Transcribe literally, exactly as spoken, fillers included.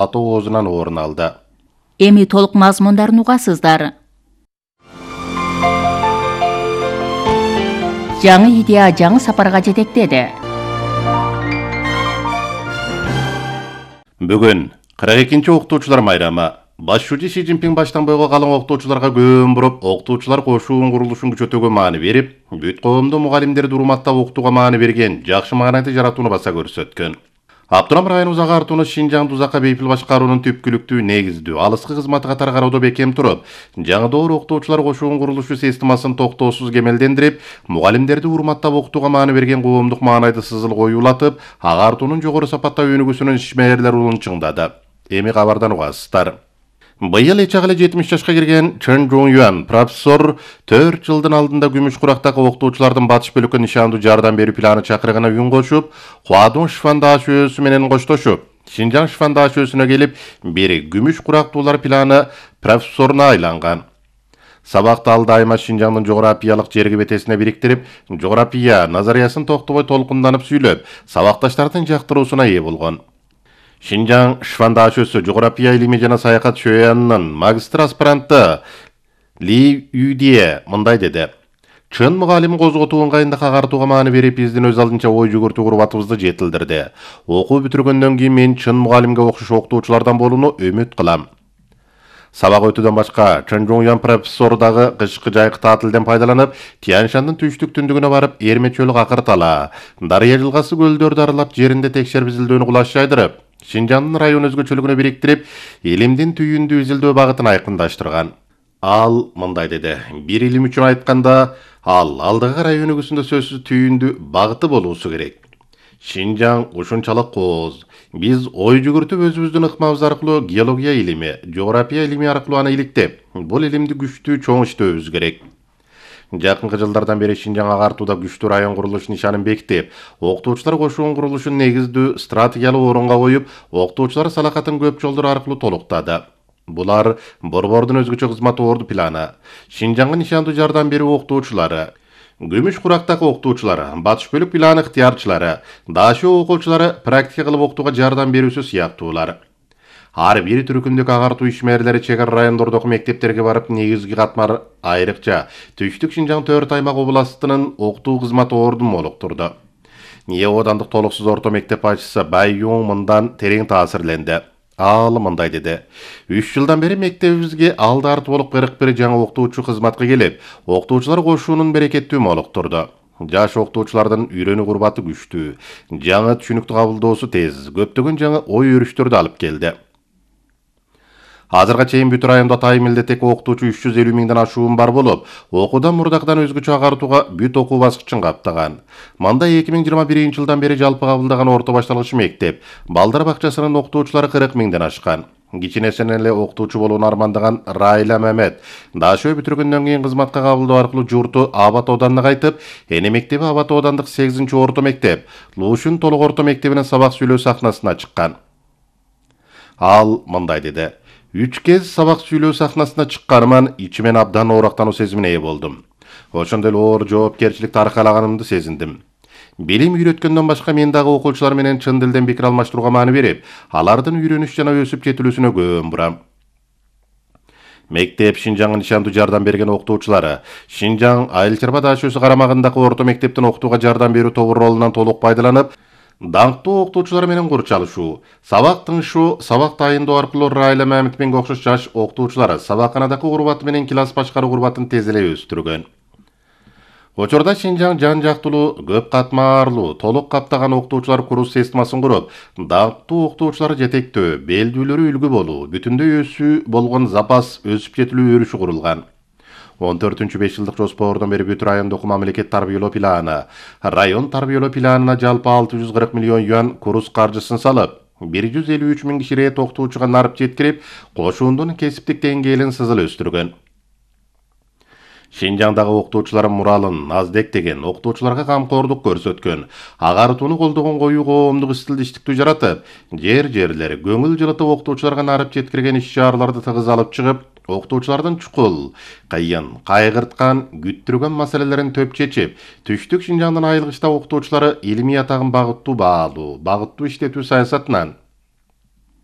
атоозунан орун алды. Эми толук мазмундарын угасыздар. Жаңы идея жаңы сапарга жетектеди. Бүгүн кырк экинчи окутуучулар майрамы. Башчы Си Цзиньпин баштан бойго калган окутуучуларга көөн буруп, окутуучулар кошуун курулушун күчөтүүгө маани берип, бүт коомду мугалимдерди урматтап окутууга маани берген, жакшы маанайды жаратууну баса көрсөткөн. Аптурам району Узак Шинжаң Узакка бейпил башкаруунун түпкүлүктүү, негиздүү, алыскы кызматы катары кароодо бекем туруп, жаңы доор окутуучулар кошуун курулушу системасын токтоосуз кемелдендирип, мугалимдерди урматтап окутууга маани берген коомдук маанайды сызыл коюулатып, агартуунун жогору сапатта өнүгүүсүнүн ишмерлер улун чыңдады. Эми кабардан угасыздар. Быйыл эчак эле жетимиш жашка кирген Чен Жон Юан профессор төрт жылдын алдында күмүш курактагы окутуучулардын батыш бөлүккө нишандуу жардам берүү планы чакырыгына үн кошуп, Хуадун Шифандаш өсү менен коштошуп, Шинжаң Шифандаш өсүнө келип, бери күмүш курактуулар планы профессоруна айланган. Сабакты ал дайыма Шинжаңдын жографиялык жерги бетесине бириктирип, жография назариясын токтобой толкунданып сүйлөп, сабакташтардын жактыруусуна ээ болгон. Шинжаң Шифандаш өсү жография илими жана саякат шөянынын магистр аспиранты Ли Юдие мындай деди. Чын мугалим козготуу ыңгайында агартууга маани берип, биздин өз алдынча ой жүгүртүү курбатыбызды жетилдирди. Окуу бүтүргөндөн кийин мен чын мугалимге окшош окутуучулардан болууну үмүт кылам. Сабак өтүүдөн башка Чен Жон Юан профессору дагы кышкы жайкы таатилден пайдаланып, Тяньшандын түштүк түндүгүнө барып, Эрме чөлү акыртала, Дарыя жылгасы көлдөрдү аралап, жеринде текшерип изилдөөнү кулаш жайдырып, Шинжаңдын район өзгөчөлүгүнө бириктирип, элимдин түйүндү изилдөө багытын айкындаштырган. Ал мындай деди. Бир илим үчүн айтканда, ал алдыгы район өгүсүндө сөзсүз түйүндү багыты болуусу керек. Шинжаң ушунчалык кооз. Биз ой жүгүртүп өзүбүздүн ыкмабыз аркылуу геология илими, жография илими аркылуу аны иликтеп, бул илимди күчтүү чоң иштөөбүз керек. Жакынкы жылдардан бери Шинжаң агартууда күчтүү район курулуш нишанын бекитип, окутуучулар кошуун курулушун негиздүү стратегиялык орунга коюп, окутуучулар салакатын көп жолдор аркылуу толуктады. Булар Борбордун өзгөчө кызматы орду планы, Шинжаңга нишандуу жардам берүү окутуучулары, күмүш курактагы окутуучулары, батыш бөлүк планы ыктыярчылары, дашоо окуучулары, практика кылып окутууга жардам берүүсү сыяктуулар. Ар бир түркүмдүк агартуу ишмерлери чек ара райондордогу мектептерге барып, негизги катмар айрыкча Түштүк Шинжаң төрт аймак областынын окутуу кызматы ордун молуктурду. Ие оодандык толуксуз орто мектеп башчысы Бай Юң мындан терең таасирленди. Ал мындай деди. үч жылдан бери мектебибизге алды арты болуп кырк бир жаңы окутуучу кызматка келип, окутуучулар кошуунун берекеттүү молуктурду. Жаш окутуучулардын үйрөнүү курбаты күчтүү, жаңы түшүнүктү кабылдоосу тез, көптөгөн жаңы ой өрүштөрдү алып келди. Азырга чейин бүт райондо атайын милдеттеги окутуучу үч жүз элүү миңден ашуун бар болуп, окуудан мурдакдан өзгөчө агартууга бүт окуу баскычын каптаган. Мында эки миң жыйырма биринчи жылдан бери жалпы кабылдаган орто башталгыч мектеп, балдар бакчасынын окутуучулары кырк миңден ашкан. Кичинесинен эле окутуучу болууну армандаган Райла Мамет дашөө бүтүргөндөн кийин кызматка кабылдоо аркылуу журту Абат оданына кайтып, эне мектеби Абат одандык сегизинчи орто мектеп, Лушун толук орто мектебинин сабак сүйлөө сахнасына чыккан. Ал мындай деди. Үч кез сабак сүйлөө сахнасына чыкканыман ичимен абдан оорактануу сезимине ээ болдум. Ошондой эле оор жоопкерчиликти аркалаганымды сезиндим. Билим үйрөткөндөн башка мен дагы окуучулар менен чын дилден пикир алмаштырууга маани берип, алардын үйрөнүш жана өсүп жетилүүсүнө көөн бурам. Мектеп Шинжаңга нишандуу жардам берген окутуучулары, Шинжаң Айыл Чарба дашөөсү карамагындагы орто мектептин окутууга жардам берүү тобу ролунан толук пайдаланып, даңктуу окутуучулар менен курчалышуу, сабак тыңшуу, сабак дайындоо аркылуу Райла Мамитменге окшош жаш окутуучулар сабакканадагы курбаты менен класс башкаруу курбатын тез эле өстүргөн. Учурда Шинжаң жан жактылуу, көп катмарлуу, толук каптаган окутуучулар курс системасын куруп, даңктуу окутуучулар жетектөө, белдүүлөрү үлгү болуу, бүтүндөй өсүү болгон запас өсүп жетилүү өрүшү курулган. он төртүнчү беш жылдык жоспордон бери бүт райондогу мамлекет тарбиялоо планы, район тарбиялоо планына жалпы алты жүз кырк миллион юан курс каржысын салып, бир жүз элүү үч миң кишиге окутуучуга нарып жеткирип, кошуундун кесиптик деңгээлин сызыл өстүргөн. Шинжаңдагы окутуучулар муралын Наздек деген окутуучуларга камкордук көрсөткөн, агартууну колдогон коюу коомдук стилдиштиктүү жаратып, жер-жерлер көңүл жылытып окутуучуларга нарып жеткирген иш-чараларды тыгыз алып чыгып, окутуучулардын чукул, кыйын, кайгырткан, күттүргөн маселелерин төп чечип, Түштүк Шинжаңдын айылгычта окутуучулары илимий атагын багыттуу баалуу, багыттуу иштетүү саясатынан